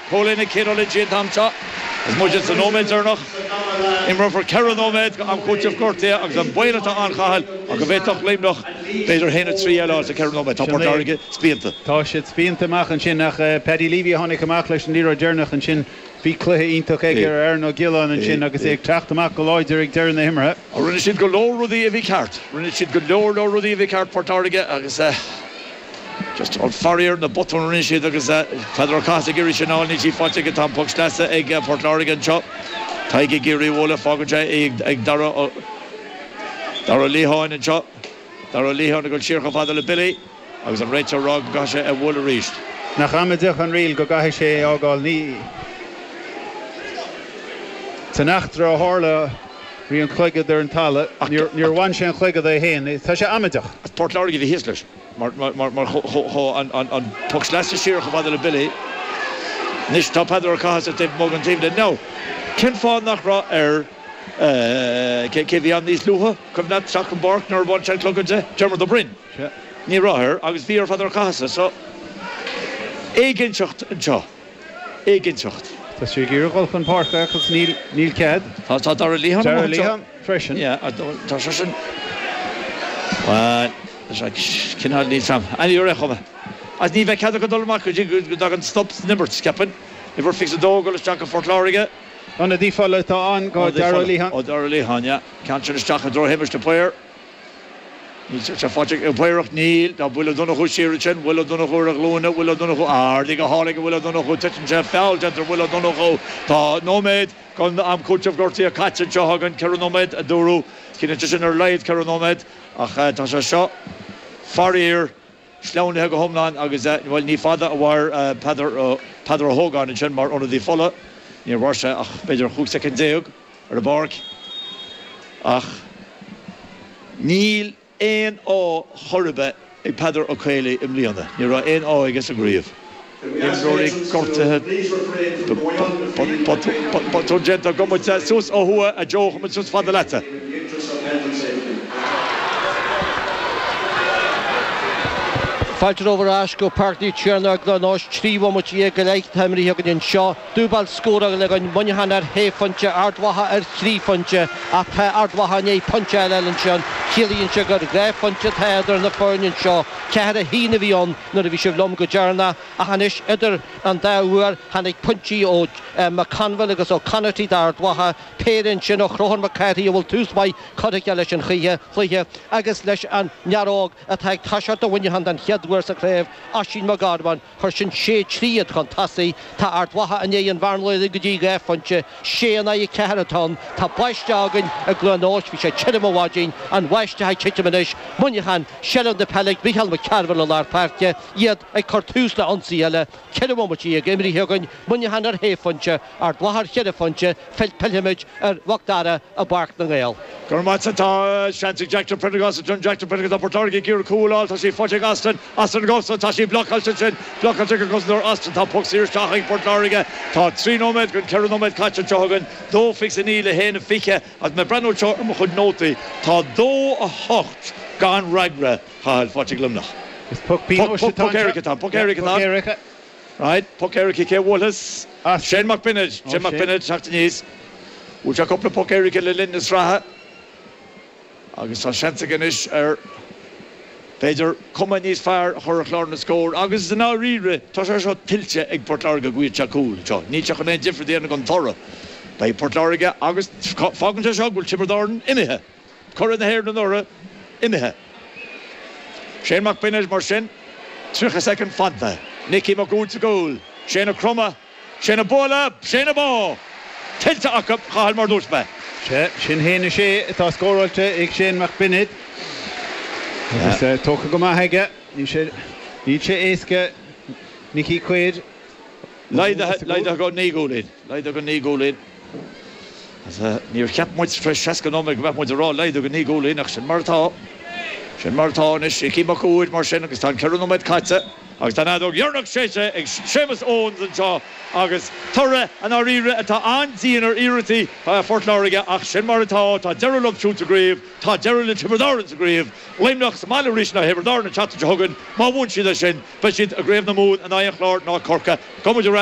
Cúilín ag Cian Ó Loinsigh an t-am seo agus muid sa nóiméad deireanach. Imreofar 4 nóiméad go am cúitimh gortaithe agus an baol atá ann, Chathail, ach go bhféadfadh Luimneach b'fhéidir 1-3 a fháil sa 4 nóiméad. Tá Port Láirge spíonta. Tá siad spíonta amach ansin ach Paddy Leavey a tháinig amach leis an liathróid deireanach ansin. Bhí cluiche iontach aige ar Aaron Ó Giolláin ansin agus é ag teacht amach go láidir ag deireadh na himeartha. Rinne siad go leor rudaí a bhí ceart. Rinne siad go leor leor rudaí a bhí ceart, Port Láirge, agus. Just an faraor na botúin a rinne siad agus Peadar Ó Cathasaigh ag iarraidh sin a fháil, níl sí faighte aige. Tá an poc sleasa ag Port Láirge anseo. Tadhg ag iarraidh a bhualadh, fágann sé é ag Dara Dara Ó Liatháin anseo. Dara Ó Liatháin ag dul siar chomh fada le Billy agus an réiteoir ag rá go gcaithfidh sé é a bhualadh arís. Nach amaideach an riail go gcaithfidh sé é a fhágáil. Ní san eachtra a tharla bhí an cloigead ar an talamh. Níor bhain sé an cloigead é féin. Tá sé amaideach. As Port Láirge a bhí thíos leis. Mar chuaigh an poc sleasa siar chomh fada le Billy. Anois tá Peadar Ó Cathasaigh taobh amuigh den taobhlíne. Now, cén fáth nach raibh ar, cé a bhí ann níos luaithe, cuimhin leat, teacht chun páirce nuair a bhain sé an cloigeann de? Dermot Ó Broin. Ní raibh air agus bhí ar Pheadar Ó Cathasaigh. So, éiginnteacht anseo. Éiginnteacht. Tá sé ag iarraidh dhul chun páirce agus níl cead. Tá Dara Liatháin amuigh anseo. Dara Liatháin freisin. Yeah, tá seisean, bhuel, tá sé cineál níl 's a'm. Anyway, ar aon chuma. Agus ní bheidh cead acu dul amach go dtí go dtagann stop san imirt, ceapaim. Uimhir 22 ag dul isteach do Phort Láirge. Ionadaí fola atá ann do Dara Liatháin. Ó Dara Liatháin, yeah. Ceann sin isteach i dtreo Shéamais de Paor. Níl sé faighte ag Paor ach níl. Tá Will Ó Donnchú siar ansin. Will Ó Donnchú ar a ghlúine. Will Ó Donnchú. Ardaithe go hálainn ag Will Ó Donnchú. Titeann sé. Feall déanta ar Will Ó Donnchú. Tá nóiméad den am cúitimh gortaithe caite anseo againn. 4 nóiméad a dúradh. Ciallaíonn sé sin ar a laghad 4 nóiméad. Ach tá sé seo, faraor, sleamhnaithe go hiomlán agus, bhuel, ní fada a mhair Peadar, Peadar Ó hÓgáin ansin mar ionadaí fola. Níor mhair sé ach b'fhéidir 15 soicind ar an bpáirc. Ach níl aon ádh chor ar bith ag Peadar Ó Caollaí i mbliana. Ní raibh aon ádh aige sa gcraobh. Imreoirí gortaithe, botún déanta agam, suas ó thuaidh a Joe, chuaigh muid suas fada leatsa. Fáilte romhaibh ar ais go Páirc Naomh Tiarnach i gCluain Eois, 13 bhomaite go leith atá imrithe againn anseo. Dúbailt scórála againn, Muineachán ar shé phointe, Ard Mhacha ar thrí phointe, ach tá Ard Mhacha i ndiaidh pointe eile a fháil ansin. Ciallaíonn sé gur 2 phointe atá idir na foirne anseo. 4-1 a bhí ann nuair a bhí sibh liom go deireanach, ach anois idir an dá uair tháinig pointí ó McConville agus ó Connarty d'Ard Mhacha, péire ansin ó Chrothúr Mac Cárthaigh a bhfuil tús maith curtha aige leis an chluiche, agus leis an bhfear óg atá ag toiseacht do Mhuineachán den chéad uair sa chraobh, Oisín Mac Gormáin. Chuir sin 6 3 iad chun tosaigh. Tá Ard Mhacha i ndiaidh an bhearna a laghdú go dtí 2 phointe. 6 in aghaidh 4 atá ann. Tá báisteach againn i gCluain Eois. Bhí sé tirim ó mhaidin. An bháisteach ag titim anois. Muineachán, seilbh na peile ag Micheál Mac Cearbhaill i lár páirce. Iad ag cur tús le ionsaí eile. 14 bhomaite imrithe againn. Muineachán ar shé phointe. Ard Mhacha ar cheithre phointe. Fillfimid ar Mhac Dara i bPáirc na nGael. Go raibh maith agat. Tá seans ag Jack de Prendergast ansin. Jack de Prendergast tá Port Láirge ag iarraidh cúl a fháil. Tá sí faighte ag Austin. Austin ag gabháil. Tá sí blocáilte ansin. Blocáilte ag an gcosantóir Austin. Tá poc saor isteach ag Port Láirge. Tá 3 nóiméad den 4 nóiméad caite anseo againn. 2-29 le 1-20. Agus mé ag breathnú anseo ar mo chuid nótaí, tá 2-8 gan fhreagra, Cathal, faighte ag Luimneach. Is poc pionóis atá anseo. Poc éirice atá ann. Poc éirice atá ann. Right, poc éirice, cé a bhuailfeas? Shane Mac Bionaid, Shane Mac Bionaid, teacht aníos. Bhuail sé cúpla poc éirice le linn na sraithe agus tá seans aige anois ar, b'fhéidir, cuma níos fearr a chur ar chlár na scór agus i ndáiríre tá sé seo tuillte ag Port Láirge go bhfaighidh sé cúl anseo. Níl sé chun aon difear a dhéanamh don toradh. Beidh Port Láirge agus fágann sé seo go bhfuil Tiobraid Árann imithe. Curaidh na hÉireann anuraidh imithe. Shane Mac Bionaid mar sin, 30 soicind fanta. Nicky Mac Uaid sa gcúl. Shane ag cromadh. Shane ag bualadh. Shane ag bá! Tuillte acu, Cathal, mar a dúirt mé. Sea, sin haon a sé atá scóráilte ag Shane Mac Bionaid. Agus tógtha go maith aige. Níl sé, níl sé éasca Nicky Quaid. Laghdaithe, laghdaithe go 9 gcúilín. Laghdaithe go 9 gcúilín. Níor cheap muid tar éis 60 nóiméad go mbeadh muid ag rá laghdú go 9 gcúilín ach sin mar atá. Sin mar atá anois. Icí Mac Uaid mar sin agus tá an 4 nóiméad caite agus tá an fheadóg dheireanach séidte ag Séamus Owens anseo agus toradh i ndáiríre atá an-dian ar iarrachtaí Phort Láirge ach sin mar atá. Tá deireadh leo siúd sa gcraobh. Tá deireadh le Tiobraid Árann sa gcraobh. Luimneach sa mbaile arís in aghaidh Thiobraid Árann an tseachtain seo chugainn. Má bhuann siad é sin, beidh siad i gCraobh na Mumhan in aghaidh an Chláir ná Corcaigh. Gabhfaidh muid ar ais.